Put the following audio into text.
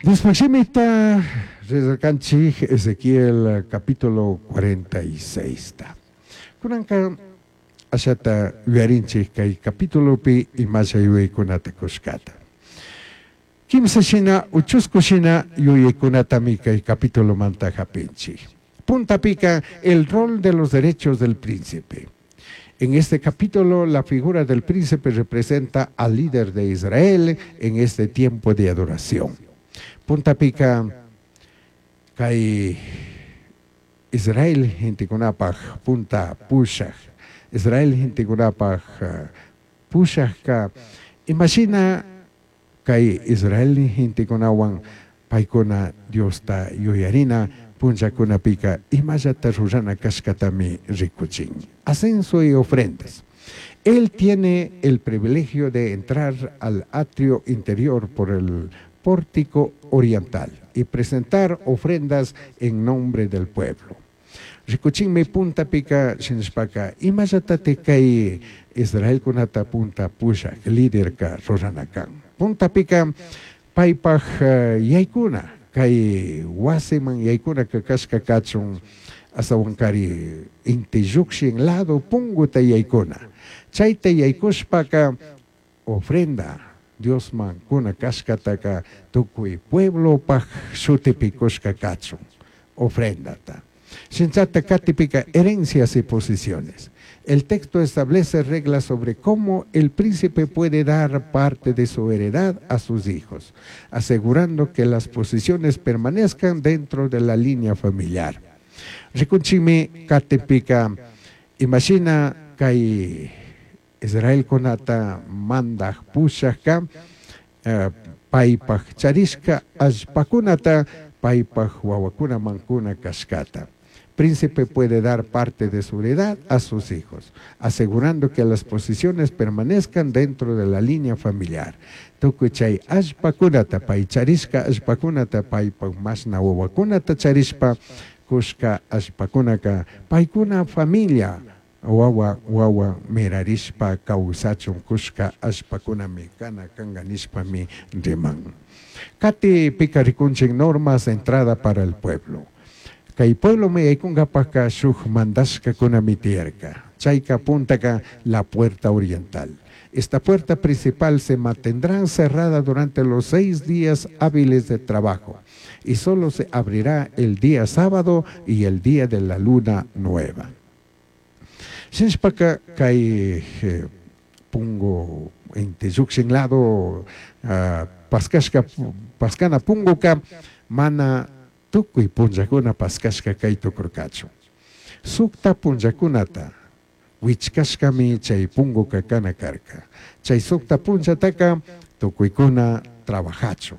Diospaj shimita rezarkanchik Ezequiel capítulo 46 ta. Kunanka ashata yuyarinchik kay capitulopi imasha yuyaykunata kushkata. Kimsa shina uchusku shina yuyaykunatami kay capitulomanta hapinchik. Puntapika el rol de los derechos del príncipe. En este capítulo, la figura del príncipe representa al líder de Israel en este tiempo de adoración. Puntapika kay Israel gentekunapaj punta pushaj. Israel gentekunapaj pushajka imashina kay Israel gentekunawan paykuna Diosta yuyarina punllakunapika imallata rurana kashkatami rikuchin. Ascenso y ofrendas. Él tiene el privilegio de entrar al atrio interior por el pórtico oriental y presentar ofrendas en nombre del pueblo. Rikuchinmi puntapika shinashpaka imallatate kay Israelkunata punta pushak liderka rurana kan. Puntapika paypaj yaykuna kay wasiman yaykuna kashka kachun asawankari inti llukshin lado punguta yaykuna. Chayta yaykushpaka ofrenda Diosman kuna kashkataka tukuy pueblopaj shutipi kushka kachun ofrendata. Shinchata katipika herencias y posiciones. El texto establece reglas sobre cómo el príncipe puede dar parte de su heredad a sus hijos, asegurando que las posiciones permanezcan dentro de la línea familiar. Rikunchimi katipika imashina kay Israel kunata mandaj pushajka paypaj charishka allpakunata paypaj wawakunaman kuna kashkata. Príncipe puede dar parte de su heredad a sus hijos, asegurando que las posiciones permanezcan dentro de la línea familiar. Tukuy chay allpakunata pay charishka allpakunata paypaj mashna wawakunata charishpa kushka allpakunaka paykuna familia wawa wawa mirarishpa kawsachun kushka allpakunami kana kanka nishpami riman. Kati pika rikunchik normas de entrada para el pueblo. Kay pueblo me yaykunkapaka shuk mandashkakunami tiyarka. Chayka puntaka la puerta oriental. Esta puerta principal se mantendrá cerrada durante los 6 días hábiles de trabajo y solo se abrirá el día sábado y el día de la luna nueva. Shinshpaka kay pungu inti llukshin lado paskashka paskana punguka mana tukuy punllakuna paskashka kay tukurkachu. Sukta punllakunata wichkashkami chay punguka kana karka. Chay sukta punllataka tukuykuna trabajachu.